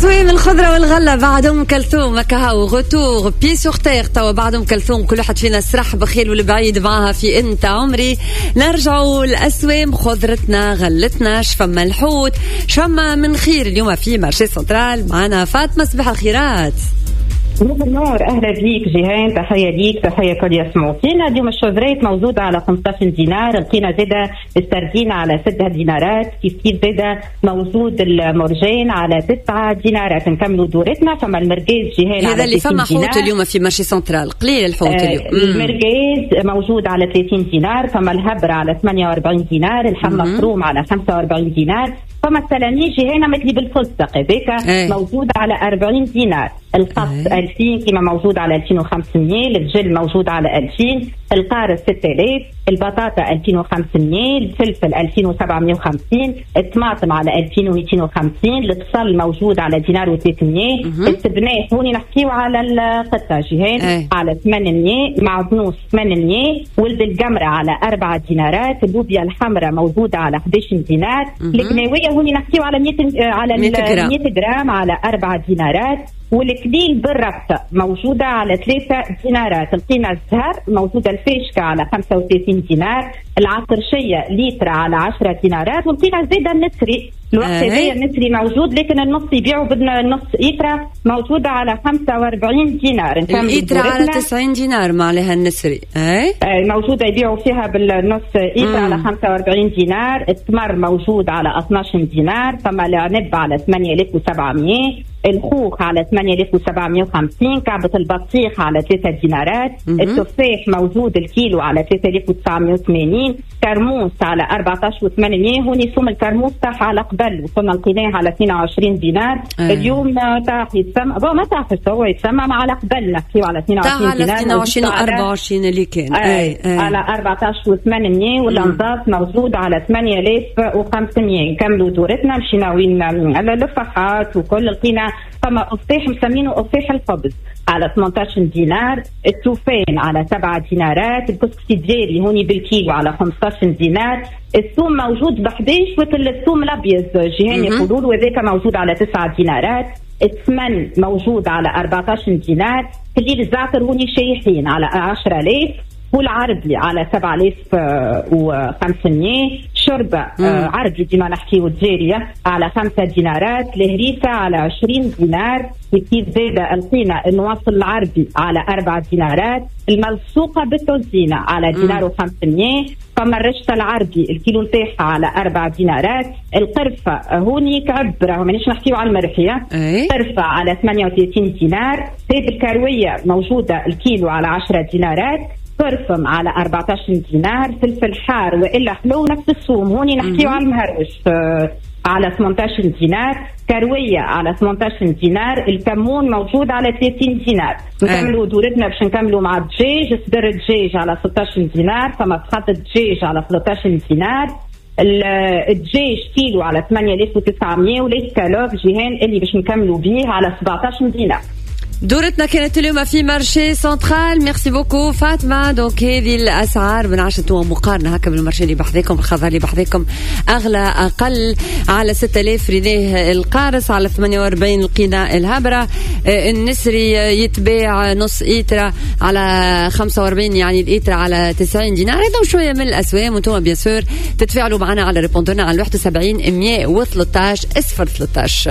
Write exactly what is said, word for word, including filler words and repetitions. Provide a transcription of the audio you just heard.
اسوام الخضرة والغلة بعد ام كلثوم. كهو retour pieds sur terre توا بعد ام كلثوم، كل واحد فينا سرح بخيل والبعيد معاها في انت عمري. نرجعوا الاسوام، خضرتنا غلتنا، شفما الحوت، شفما من خير اليوم في marché central. معنا فاطمه، صباح الخيرات. نور النور، اهلا بيك جيهان، تحية ليك، تحية كل يسمعوا فينا. اليوم ال chevrettes موجودة على خمسطاش دينار، لقينا زاده السردين على ستة دينارات، كيف كيف زاده موجود المرجان على تسعة دينارات. نكملوا دورتنا، فما المرقاز جيهان. هذا اللي فما حوت اليوم في marché central، قليل الحوت آه اليوم. المرقاز موجود على ثلاثين دينار، فما الهبره على ثمانية وأربعين دينار، اللحم مفروم على خمسة وأربعين دينار، فما السلامي جيهان مثلي بالفستق هذاك ايه. موجود على أربعين دينار، القص ايه. ألفين كما موجود على ألفين وخمسمية، الفجل موجود على ألفين، القارص ستة آلاف، البطاطا ألفين وخمسمية، الفلفل ألفين وسبعمية وخمسين، الطماطم على ألفين ومئتين وخمسين، البصل موجود على دينار وثلاثمية، السبناخ هوني نحكيو على القطة جيهان ايه. على ثمانمية، معدنوس ثمانمية، ولد الجمرة على أربعة دينارات، اللوبيا الحمراء موجودة على إحداش دينار، الكناوية هوني نحكيو على مية على مية جرام على أربعة دينارات، والكليل بالربطة موجودة على ثلاثة دينارات، لقينا الزهر موجودة الفاشكة على خمسة وثلاثين دينار، العطرشية لتر على عشرة دينارات، ولقينا زادة النسري الوقت هذايا النسري موجود لكن النص يبيعوا بدنا النص إيترا موجودة على خمسة وأربعين دينار. الإيترا على تسعين دينار ما عليها النسري اي موجودة يبيعوا فيها بالنص إيترا على خمسة وأربعين دينار، التمر موجود على اثناش دينار، فما العنب على ثمانية آلاف وسبعمية، الخوخ على ثمانية آلاف وسبعمية وخمسين، كعبة البطيخ على ثلاثة دينارات، التفاح موجود الكيلو على ثلاثة آلاف وتسعمية وثمانين، كرموس على أربعطاش وثمانمية، هوني سوم الكرموس طاح على قبل وصلنا لقيناه على اثنين وعشرين دينار، أه. اليوم طاح يتسمى bon ما طاحش هو يتسمى على قبل نحكيو على اثنين وعشرين دينار، على اثنين وعشرين و أربعة وعشرين اللي كان أي. أي. على أربعطاش وثمانمية، والانضاف موجود على ثمانية آلاف وخمسمية. نكملوا دورتنا، مشينا وين على اللفحات وكل، لقينا فما قفاح مسمينه قفاح الخبز على ثمنطاش دينار، التوفان على سبعة دينارات، الكسكسي الدياري هوني بالكيلو على خمسطاش دينار، الثوم موجود ب إحداش وكل الثوم الابيض جيهان يقولوا وذاك موجود على تسعة دينارات، الثمن موجود على أربعطاش دينار، كليل الزعتر هوني شايحين على عشرة آلاف، والعربي على سبعة آلاف وخمسمية، شوربة عربي ديما نحكيو الجارية على خمسة دينارات، الهريسة على عشرين دينار، كيف زادة لقينا النواصل العربي على أربعة دينارات، الملصوقة بالتوزينة على دينار وخمسمية، فما الرشتة العربي الكيلو نتاعها على أربعة دينارات، القرفة هوني كعب راهو مانيش نحكيو على المرحية، قرفة على ثمانية وثلاثين دينار، زيت الكروية موجودة الكيلو على عشرة دينارات، برفم على أربعطاش دينار، فلفل حار والا حلو نفس السوم هوني نحكيو على المهرج على ثمنطاش دينار، كروية على ثمنطاش دينار، الكمون موجود على ثلاثين دينار. نكملوا دورتنا باش نكملوا مع الدجاج، صدر الدجاج على ستطاش دينار، فما فخذ الدجاج على ثلاثطاش دينار، الدجاج كيلو على ثمانية آلاف وتسعمية، والاسكالوب جيهان اللي باش نكملوا بيه على سبعطاش دينار. دورتنا كانت اليوم في marché central. merci beaucoup فاطمة. donc هذه الاسعار من عشرة انتم مقارنة هكا بال marché اللي بحذاكم، الخضار اللي بحذاكم اغلى اقل. على ستة آلاف ريناه القارص، على ثمانية وأربعين لقينا الهبره، النسري يتباع نص ايترا على خمسة وأربعين، يعني الايترا على تسعين دينار. هذا شوية من الاسوام، وانتم bien sûr تتفاعلوا معنا على répondeur نا على واحد وسبعين مية وثلاثطاش صفر ثلاثطاش.